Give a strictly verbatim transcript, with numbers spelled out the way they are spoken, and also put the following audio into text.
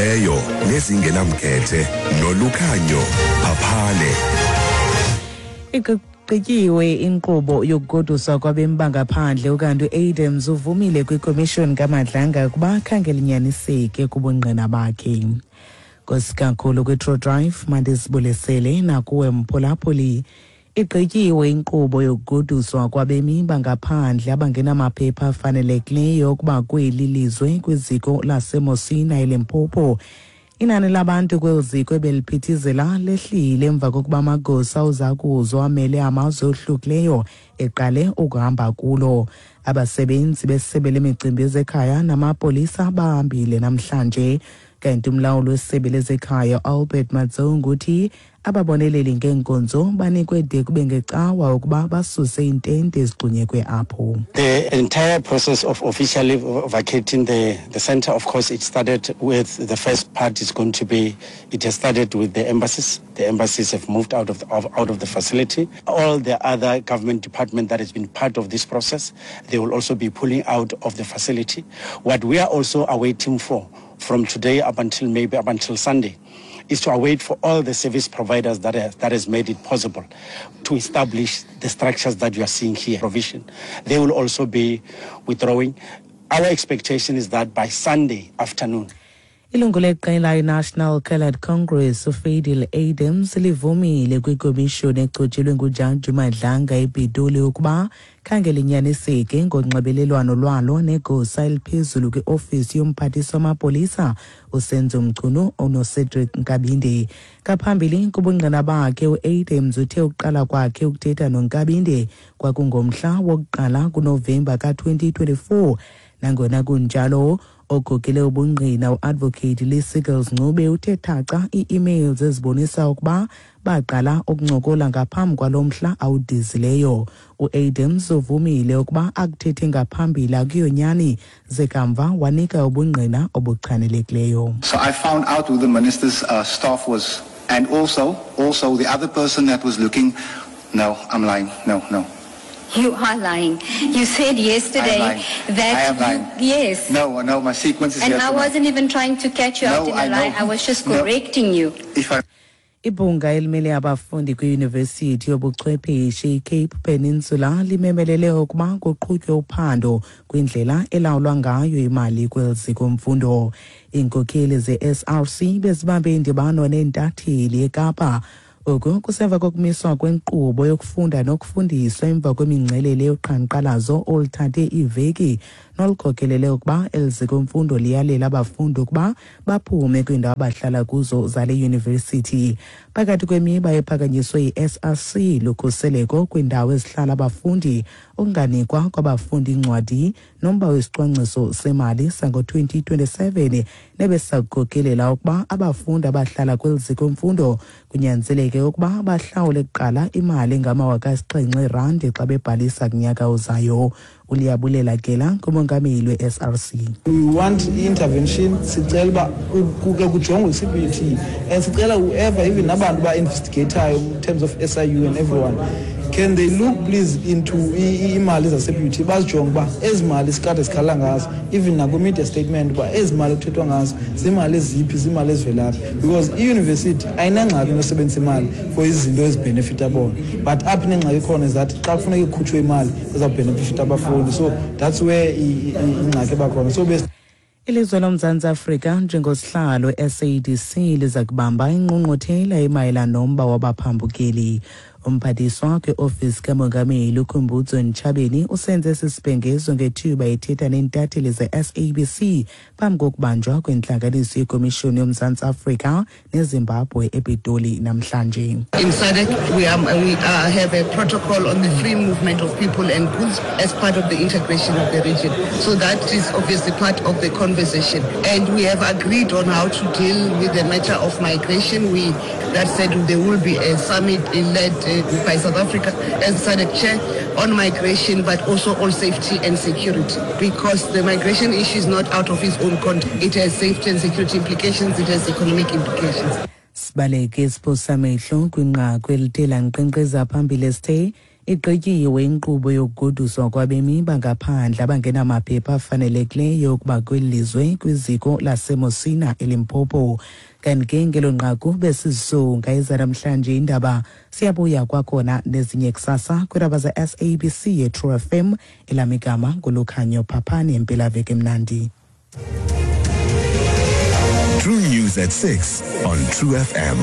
Ezingqalileyo nezingenamkhethe noLukhanyo Phaphale. Igqityiwe inkqubo yokugoduswa kwabemi bangaphandle, ukanti uAdams uvumile kwikomishoni kaMadlanga ukuba khange linyaniseke kubungqina bakhe. Nkosi kakhulu kwi-True Drive, mandizibulisele nakuwe mphulaphuli. Igqityiwe inkqubo yokugoduswa kwabemi bangaphandle abangenamaphepha afanelekileyo ukuba kweli lizwe kwiziko laseMosina eLimpopo. Inani labantu kweli ziko ebeliphithizela lehlile emva kokuba amagosa ozakuzo amele amazwe ohlukileyo eqale ukuhamba kulo. Abasebenzi besebe lemicimbi yezekhaya namapolisa bahambile namhlanje. Kanti umlawuli wesebe lezekhaya Albert Motaung uthi ababoneleli ngeenkonzo banikwe de kube ngecawa ukuba basuse iintente ezigxunyekwe apho. The entire process of officially vacating the, the center, of course, it started with the first part is going to be, it has started with the embassies. The embassies have moved out of the, of, out of the facility. All the other government department that has been part of this process, they will also be pulling out of the facility. What we are also awaiting for from today up until maybe up until Sunday is to await for all the service providers that has, that has made it possible to establish the structures that you are seeing here. Provision. They will also be withdrawing. Our expectation is that by Sunday afternoon, Ilungu leqela iNational Coloured Congress uFadil Adams livumile kwikomishoni echotshelwe nguJaji Madlanga ePitoli ukuba khange linyaniseke ngonxibelelwano lwalo negosa eliphezulu kwiofisi yomphathiswa wamapolisa uSenzo Mchunu onoCedric Nkabinde. Ngaphambili kubungqina bakhe, uAdams uthe ukuqala kwakhe ukuthetha noNkabinde kwakungomhla wokuqala kuNovemba ka-twenty twenty-four. Nangona kunjalo, okhokele ubungqina uadvocate Lee Seagles Ncube uthe thaca ii-emails ezibonisa ukuba baqala ukuncokola ngaphambi kwalo mhla awudizileyo. U-Adams uvumile ukuba akuthethe ngaphambili akuyonyani, ze kamva wanika ubungqina obuchanelekileyo. So I found out who the minister's uh, staff was, and also, also the other person that was looking. No, I'm lying. No, no. You are lying. You said yesterday I am lying. That I am lying. You, yes. No, no, my sequence is And here I for my- wasn't even trying to catch you No, out in I a lie. know. I was just No. correcting you. If I Ibhunga elimele abafundi kwiyunivesithi yobuchwepheshe iCape Peninsula limemelele ukuba kuqhutywe uphando kwindlela elawulwa ngayo imali kweli ziko mfundo. Iinkokheli ze-S R C bezibambe indibano neentatheli eKapa. Oku kusemva kokumiswa kwenkqubo yokufunda nokufundiswa emva kwemingcelele yoqhankqalazo oluthathe iiveki nolukhokelele ukuba eli ziko mfundo liyalela abafundi ukuba baphume kwiindawo abahlala kuzo zale yunivesithi. Phakathi kwemiba ephakanyiswe yi-S R C lukhuseleko kwiindawo ezihlala abafundi, ukunganikwa kwabafundi iincwadi nomba wesicwangciso semali sango-twenty twenty-seven nebesakukhokelela ukuba abafundi abahlala kweli ziko mfundo kunyanzeleke ukuba bahlawule kuqala imali engamawaka asixhenxe erandi xa bebhalisa kunyaka ozayo. ULiyabulela Gela ngumongameli we-S R C. We want intervention. Sicela uba kuke kujongwe i-C P U T and sicela whoever, even nabantu ba-investigatayo in terms of S I U and everyone, can they look please into iimali zase-B U T, bazijonge uba ezi mali sikade sikhala ngazo, even nakwi-media statement, uba ezi mali kuthethwa ngazo ziimali eziphi, ziimali ezivelaphi, because iyunivesithi ayinangxaki nosebenzisa imali for izinto ezibhenefitha bona, but apho inengxaki khona is that xa kufuneka ikhutshwe imali ezawubhenefitha abafundi. So that's where ingxaki eba khona. So Ilizwe loMzantsi Afrika njengosihlalo S A D C liza kubamba ingqungquthela emayelana nomba wabaphambukeli. Umphathiswa kwiofisi kamongameli uKhumbudzo Ntshavheni usenze esi sibhengezo ngethuba ethetha neentatheli ze-S A B C phambi kokubanjwa kwentlanganiso yekomishoni yoMzantsi Afrika neZimbabwe ePitoli namhlanje. In SADC, we, are, we uh, have a protocol on the free movement of people and goods as part of the integration of the region. So that is obviously part of the conversation. And we have agreed on how to deal with the matter of migration. We, that said, there will be a summit led uh, by South Africa as SADC chair on migration, but also on safety and security. Because the migration issue is not out of its own context. It has safety and security implications, it has economic implications. Sibaleke isiphosamehlo kwinqaku elithe lankqenkqeza phambili esithe Igqityiwe inkqubo yokugoduswa kwabemi bangaphandle abangenamaphepha afanelekileyo ukuba kweli lizwe kwiziko laseMusina eLimpopo. Kanti ke ngelo nqaku besizisonga ezanamhlanje indaba. Siyabuya kwakhona nezinye kusasa kwiindaba ze-S A B C ye-True F M. Elam igama nguLukhanyo Phaphani. Impelaveki emnandi. True News at six on True F M.